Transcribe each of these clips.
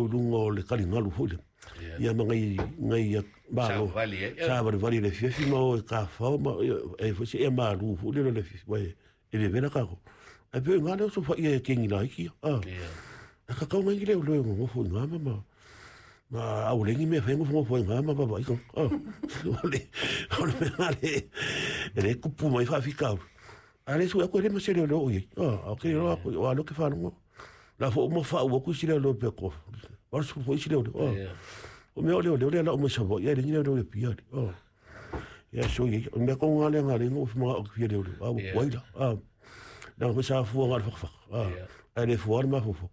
i luga o le taligalu foi lea. Ia ma ngai ngai malo. Savali ai. Savalivali i le afiafi ma o e tafafao ma e foi se ea malu foi lea i le afiafi aua e vevela tatou. Ae pei o i ina lea o sofaia e kegi laiti ia. E tatau nai ni leoleo e nonofo i ina ma ma aua leai ni mea e fai nofonofo ai i ina ma vaavaai tagata. O le mea lena lea e tupu mai ai faafitauli. A o lea e sue atu e leai ma se leoleo o i ai. Ae ou te iloa atu, aua o lea ou te faalogo la foi uma faau atu isi leoleo pe toa 80 foi isi leoleo. O mea o leoleo lea e lau mai Savaii ae leai ni leoleo i Apia alii. Ia so ia, o le mea tonu lava lea na ala ai ona ou manao ou te fia leoleo, a ua tuai la. Leaga foi sa fua na o le fatafata, ae le fua lava le mafaufau.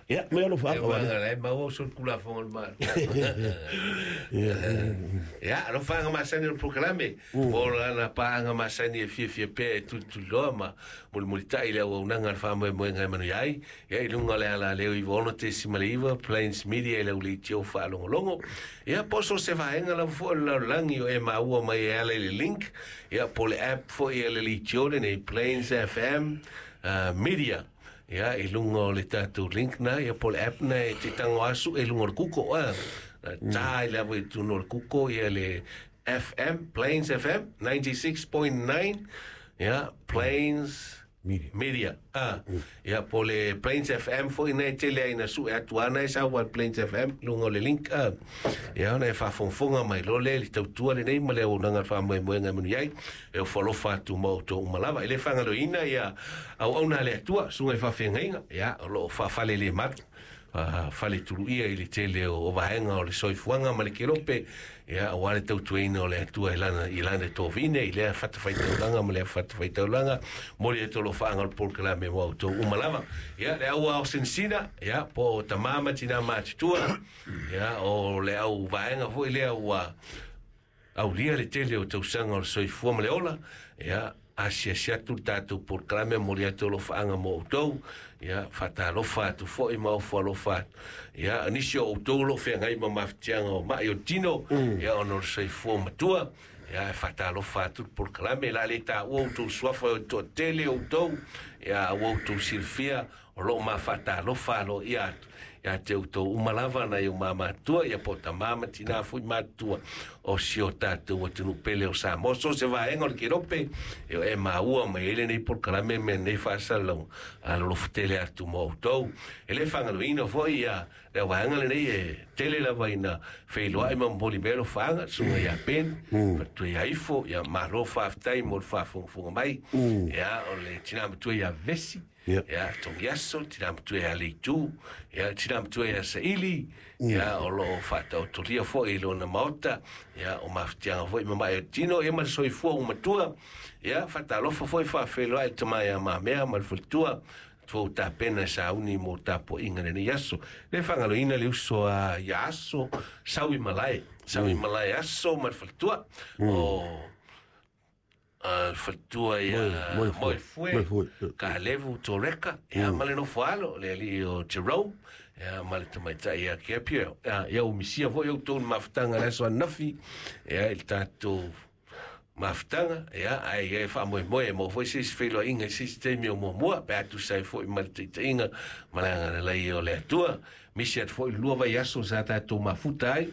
Ia, mai alofa aka wale. Ia, maua uso le kulafono o le Malo. Ia, alofa masani o le polokalame. O lana paaga masani e fiafia pea e tulituliloa ma mulimulitai le auaunaga a le faamoemoega e manuia ai. Ia, i luga o le alaleo 96.9 Plains Media i lau leitio faalogologo. Ia, po o so o se vaega lava foi o le lalolagi o e maua mai e ala i le link, ia, po o le app foi a le leitio lenei Plains FM Media. Ia, i luga o le tatou link na, ia, po o le app na e te tago asu e luga o le Google, a. Ta i lava i totonu o le Google, ia le FM, Plains FM, 96.9, ia, Plains Media. Media. A, ia, po o le Plains FM foi na e tele ai na sue atu ana e sau a Plains FM, luga o le link, a. Ia, ona e faafogafoga mai loa lea i le tautua lenei ma le auaunaga a le faamoemoega e manuia ai. E ofo alofa atu ma outou uma lava. E le faagaloina ia auauna a le Atua, susuga i faafeagaiga, ia, o lo o faafalelemalu, faletuluia i le tele o vaega o le soifuaga ma le kelope, ia, aua le tautuaina o le Atua i lana, i lana tovine, i lea fatafaitaulaga ma lea fatafaitaulaga, momoli atu alofaaga o le polokalame mo outou uma lava. Ia, le au ao sinasina, ia, po o tama ma tina matutua, ia, o le au vaega foi lea ua Aulia le tele o tausaga o le soifua ma le ola, ia, asiasi atu le tatou polokalame, momoli atu alofaaga mo outou, ia, faatalofa atu foi ma ofo alofa atu. Ia, nisi o outou o lo o feagai ma mafatiaga o mai o le tino, ia, ona o le soifua matua, ia, e faatalofa atu le polokalame, o le a le taua outou suafa e toatele outou, ia, ua outou silafia, O lo o mafaatalofa aloaia atu ia te outou uma lava nai o ma matua, ia po o tamā ma tinā foi matutua o si o tatou atunuu pele o Samoa. So o se vaega o le kelope e o e maua mai ai lenei polokalame me lenei faasalalauga alolofa tele atu mo outou. E le faagaloina foi ia le vaega lenei e tele lava ina feiloai ma momoli mai alofaaga, susuga ia Ben, faletua ia Ifo, ia malo faafetai mo le faafogafoga mai. Ia o le tinā matua ia Vesi, Ia, Togiaso, tina matua ia Leitu, ia, tina matua ia Saili, ia, o lo o faataotolia foi i lona maota, ia, o mafatiaga foi ma mae o tino, ia ma le soifua ua matua, ia, faatalofa foi faafeiloai le tama ia Mamea ma le faletua, tua tapena e sauni mo tapuaiga lenei aso. Le faagaloina le uso a ia Aso, sau i malae, sau i malae Aso ma le faletua, o faletua ia Moefue, Kalevu Toreka, ia ma le nofo alo, le alii o Jerome, ia ma le tamaitai ia Gabriel. Ia, ia umisia foi outou le mafutaga i le aso ananafi, ia i le tatou mafutaga, ia, ae ia e faamoemoe e maua foi se isi feiloaiga i se isi taimi o muamua, pe a tusa ai foi ma le taitaiga ma le agalelei o le Atua. Misi atu foi le lua vaiaso sa tatou mafuta ai,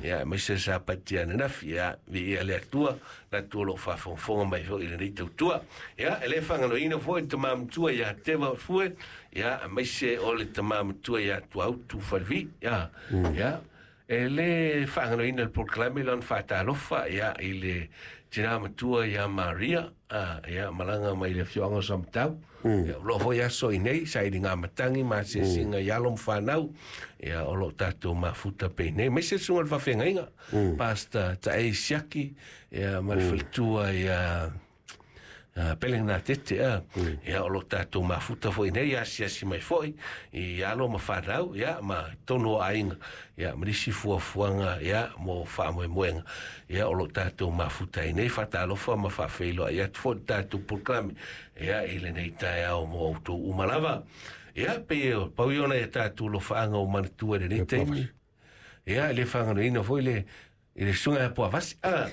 ia, aemaise sa patia ananafi, ia, viia le Atua, le Atua o lo o faafogafoga mai foi i lenei tautua. Ia, e le faagaloina foi le tama matua ia Teva Fue, ia, aemaise o le tama matua ia Tuautu Falevi, ia, ia, e le faagaloina le polokalame lona faatalofa, ia, i le tina matua ia Maria, a, ia, malaga mai le afioaga o Samatau, ia, o lo o foi aso i nei, sailiga matagi ma asiasiga i alo ma fanau, ia, o lo o tatou mafuta pei nei, aemaise le susuga i le faafeagaiga, Pastor Taei Siaki, ia, ma le faletua ia Pele Gatete, a, ia, o lo o tatou mafuta foi nei, asiasi mai foi i alo ma fanau, ia, ma tonu o aiga, ia, ma nisi fuafuaga, ia, mo faamoemoega, ia, o lo o tatou mafuta ai nei, faatalofa ma faafeiloai atu foi le tatou polokalame, ia, i lenei taeao mo outou uma lava. Ia, pei e pau ia o nai a tatou alofaaga o manatua i lenei taimi. Ia, e le faagaloina foi le i le susuga ia Puavasi, a,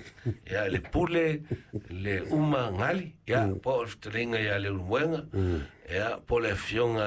ia, le pule, le uma gali, ia, po o le fetalaiga ia Leulumoega, ia, po o le afioga